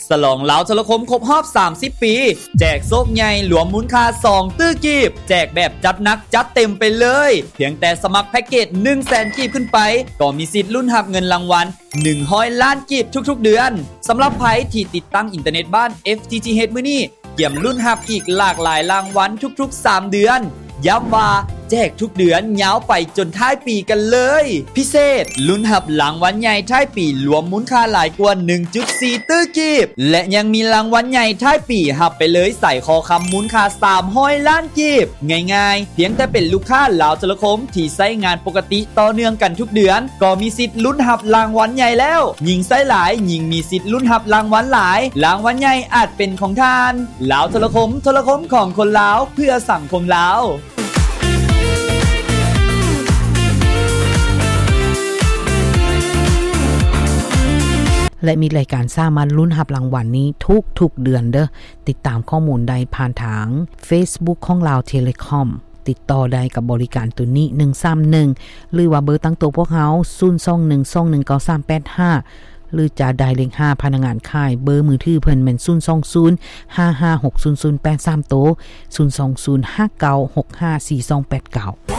ສະຫຼອງລາວໂທລະຄົມຄົບຮອບສາມສິບປີ ແຈກໂຊກໃຫຍ່ລວມມູນຄ່າສອງຕື້ກີບ ແຈກແບບຈັດໜັກຈັດເຕັມໄປເລີຍ ພຽງແຕ່ສະໝັກແພັກເກດໜຶ່ງແສນກີບຂຶ້ນໄປ ກໍມີສິດລຸ້ນຮັບເງິນລາງວັນໜຶ່ງຮ້ອຍລ້ານກີບທຸກໆເດືອນ. ສຳລັບໃຜທີ່ຕິດຕັ້ງອິນເຕີເນັດບ້ານ FTTH ມື້ນີ້ ກຽມລຸ້ນຮັບອີກຫຼາກຫຼາຍລາງວັນທຸກໆສາມເດືອນ. ຢ້ຳວ່າແຈກທຸກເດືອນຍາວໄປຈົນທ້າຍປີກັນເລີຍ. ພິເສດ, ລຸ້ນຮັບລາງວັນໃຫຍ່ທ້າຍປີລວມມູນຄ່າຫຼາຍກວ່າໜຶ່ງຈຸດສີ່ຕື້ກີບ ແລະ ຍັງມີລາງວັນໃຫຍ່ທ້າຍປີຮັບໄປເລີຍສາຍຄໍຄຳມູນຄ່າສາມຮ້ອຍລ້ານກີບ. ງ່າຍໆ, ພຽງແຕ່ເປັນລູກຄ້າລາວໂທລະຄົມທີ່ໃຊ້ງານປົກກະຕິຕໍ່ເນື່ອງກັນທຸກເດືອນ ກໍມີສິດລຸ້ນຮັບລາງວັນໃຫຍ່ແລ້ວ. ຍິ່ງໃຊ້ຫຼາຍ, ຍິ່ງມີສິດລຸ້ນຮັບລາງວັນຫຼາຍ. ລາງວັນໃຫຍ່ອາດເປັນຂອງທ່ານ. ລາວໂທລະຄົມ, ໂທລະຄົມຂອງຄົນລາວ, ເພື່ອສັງຄົມລາວ. ແລະ ມີລາຍການສາມາດລຸ້ນຮັບລາງວັນນີ້ທຸກໆເດືອນເດີ້. ຕິດຕາມຂໍ້ມູນໄດ້ຜ່ານທາງ Facebook ຂອງລາວເທເລຄອມ. ຕິດຕໍ່ໄດ້ກັບບໍລິການໂຕນີ້ ໜຶ່ງສາມໜຶ່ງ ຫຼືວ່າເບີຕັ້ງໂຕພວກເຮົາ ສູນສອງໜຶ່ງສອງໜຶ່ງເກົ້າສາມແປດຫ້າ ຫຼືຈະໄດ້ເລກຫ້າພະນັກງານຂາຍ. ເບີມືຖືເພິ່ນແມ່ນ ສູນສອງສູນ ຫ້າຫ້າຫົກສູນສູນແປດສາມໂຕ, ສູນສອງສູນ ຫ້າເກົ້າຫົກຫ້າສີ່ສອງແປດເກົ້າ.